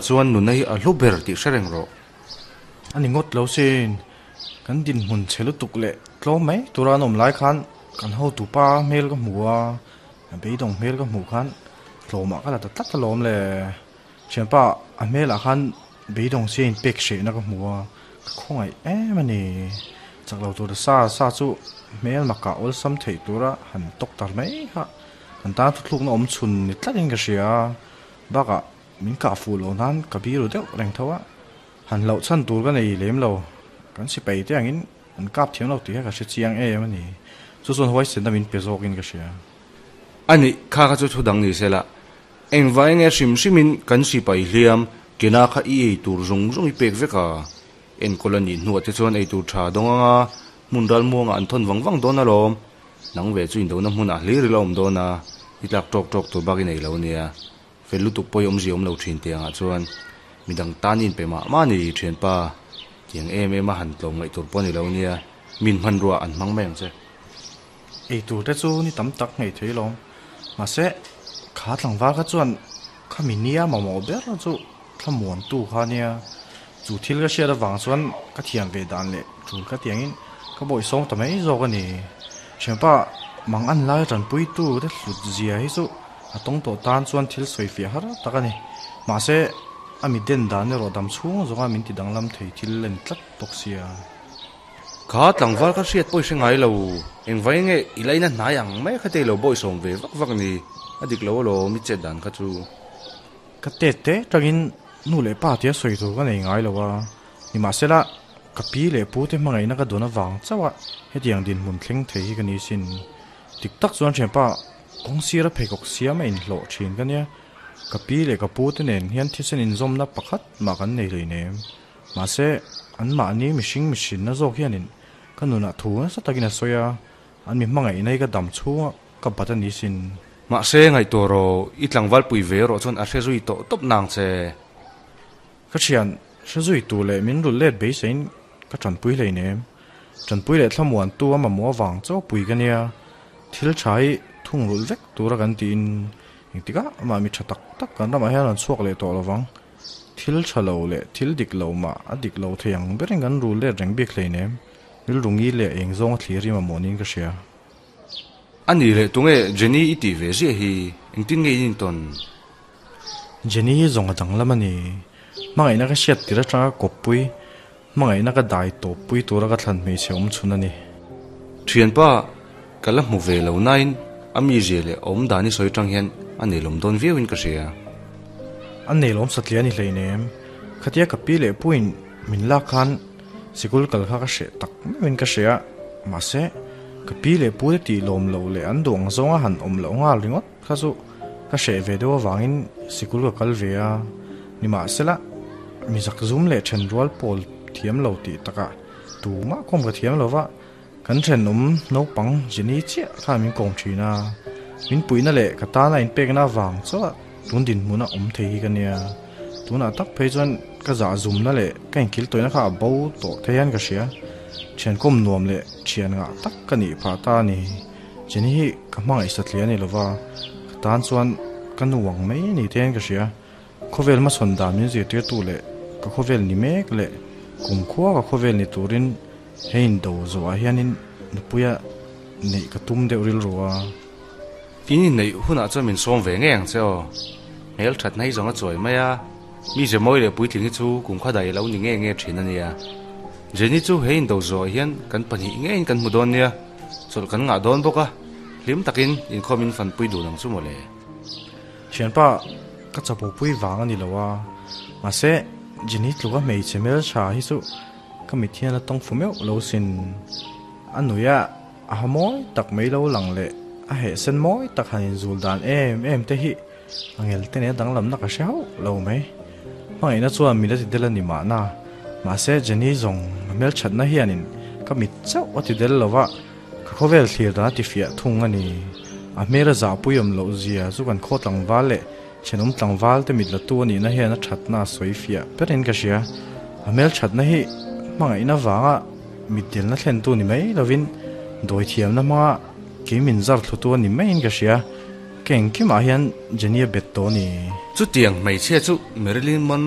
Chuan nuna hi a hlu ber tih hre reng rawh. A ni ngawt lo sin. Kan dinhmun chhe lutuk leh tlawm mai tura an awm lai khan kan hotupa hmel ka hmu a, a beidawng hmel ka hmuh khan tlawmah ka la ta tlat alawm le. Thianpa a hmelah khan beidawng sia inpek hrehna ka hmu a, ka khawngaih em a ni. Chak lo tur sa sa chu hmel makah awlsam theih tura han tawk tar mai kha kan tan thuthlukna awm chhun ni tlatin ka hria a, bakah Min kah fuh loh nan ka biru deuh reng tho a, han hlauh chhan tur ka nei lem lo. Kan sipai te angin an kap thiam lo tih kha ka hre chiang em a ni. Chu chuan huaisenna min pe zawkin ka hria. A nih, kha kha chu thu dang ni se la. Engvai nge hrim hrimin kan sipai hliam kena kha i ei tur zawng zawng i pek vek a? Enkawl a nih hnuah te chuan ei tur tha dawng anga hmun ral muangah an thawn vang vang dawn alawm. Nang ve chu indona hmunah hlir ila awm dawn a, i tlak tawk tawk tur bak i nei lo nia. Fel lutuk pawh i awmzia awm lo thin tih angah chuan midang tan i inpe mah mah a ni thianpa, tiang em em a han tlawm ngaih tur pawh a ni lo nia, min hmanrua an hmang mai ang che. Ei tur te chu ni tam tak ngei thei lawm, mahse kha tlangval kha chuan khami nia mamawh ber chu thlamuantu kha nia, chu thil ka hriat avang chuan ka thiam ve dan leh tul ka tiangin ka bawihsawm ta mai zawk a ni. Thianpa mang an lai tanpuitu te hlut zia hi chu A tawng tawh tan chuan thil sawi fiah har tak a ni. Mahse, a mi den dan erawh dam chhung zawnga min ti danglam thei thil a ni tlat bawk sia. Kha tlangval ka hriat pawh i hre ngai lo. Engvai nge i laina hnai ang mai kha te i lo bawihsawm ve vak vak ni. A dik lo alawm i chet dan kha chu. Ka tet te tangin nu leh pa tia sawi tur ka nei ngai lo a. Nimahsela, ka pi leh pu te hmangaihna ka dawn avang chauh a hetiang dinhmun thleng thei hi ka ni sin. Dik tak chuan thianpa Kawng sira pheikhawk siam a inhlawh thin ka nia. Ka pi leh ka pu te nen hian thisen inzawmna pakhat mah kan nei hleinem. Mahse, anmahni mihring mihrinna zawk hianin ka nunah thu nasa takin a sawi a, an mi hmangaihna hi ka dam chhunga ka bat a ni sin. Mahse, ngaihtuah rawh, i tlangval pui ve erawh chuan a hre zui tawh tawp nang che. Ka thian, hre zui tu leh min rulh let beiseiin ka tanpui hleinem. Tanpui leh thlamuantu a mamawh avang chaw pui ka nia. Thil tha hi thungrulh vek tura kan tiin engtikah mah mi tha tak tak kan ramah hian an chhuak leh tawh lovang. Thil tha lo leh thil dik lo mah a dik lo thei ang berin kan rul let reng bik hleinem. Rilru ngi leh eng zawnga thlir hi mamawh niin ka hria. A nih leh tunge Jenny i tih ve ziah hi engtin nge in intawn? Jenny hi zawng a danglam a ni. Hmangaihna ka hriat tir atanga kawppui Hmangaihna ka dai tawp pui tura ka thlan hmeichhe awm chhun a ni. Thianpa, ka la hmu ve lo nain a mizia leh awm dan i sawi tang hian a neilawm dawn viauin ka hria. A neilawm satliah a ni hleinem. Khatia ka pi leh puiin min lak khan sikul kal kha ka hreh tak meuhin ka hria a, mahse ka pi leh pute tih lawm loh leh an duh ang zawnga han awm loh nghal ringawt kha chu Ka hreh ve deuh avangin sikul ka kal ve a, nimahsela mi zak zum leh then rual pawl thiam lo tih takah tumah kawm ka thiam lo va, kan thenawm naupang Jenny chiah khan min kawm thin a, min puihna leh ka tana inpekna avang chuah tun dinhmuna awm thei hi ka nia, tunah tak phei chuan ka zah zumna leh ka inkil tawihna kha a bo tawh thei hian ka hria, thiankawm nuam leh thian ngah tak ka nih phah ta a ni. Jenny hi ka hmangaih satliah a ni lova, ka tan chuan ka nu ang mai a ni te hian ka hria. Khawvel hmasawn dan min zirtirtu leh ka khawvel ni mek leh kumkhua ka khawvel ni turin he indo zawhah hianin nupuia neih ka tum deuh rilru a. In inneih hunah chuan min sawm ve ngei ang che aw. Hmel thatna hi zawng a chuai mai a, mi ze mawi leh puitling hi chu kumkha daih lo ni nge nge thin a nia. Jenny chu he indo zawhah hian kan pahnih ngeiin kan hmu dawn nia. Chawlh kan ngah dawn bawk a, hlim takin inkhawm in fanpui dun ang chu mawle. Thianpa, ka chapopui vang a ni lo a, mahse Jenny tluka hmeichhe hmeltha hi chu ka mit hian a tawng fu meuh lo sin. A nui a, a ha mawi tak mai lo lang leh a heh sen mawi tak han inzul dan em em te hi a ngel te nen danglamna ka hre hauh lo mai. Hmangaihna chuan min a ti del a ni mahna, mahse Jenny zawng a hmelthatna hianin ka mit chauh a ti del lo va, ka khawvel thlir dan a ti fiah thung a ni. A hmel a zahpui awm loh zia chu kan khaw tlangval leh thenawm tlangval te mit latu a nihna hian a thatna a sawi fiah berin ka hria. A hmelthatna hi hmangaihna vanga mit delna thlentu ni mai lovin dawithiamna hmanga kei min zar thlutu a ni maiin ka hria. Ka engkimah hian Jenny a bet tawh a ni. Chutiang hmeichhia chu Marilyn Monroe.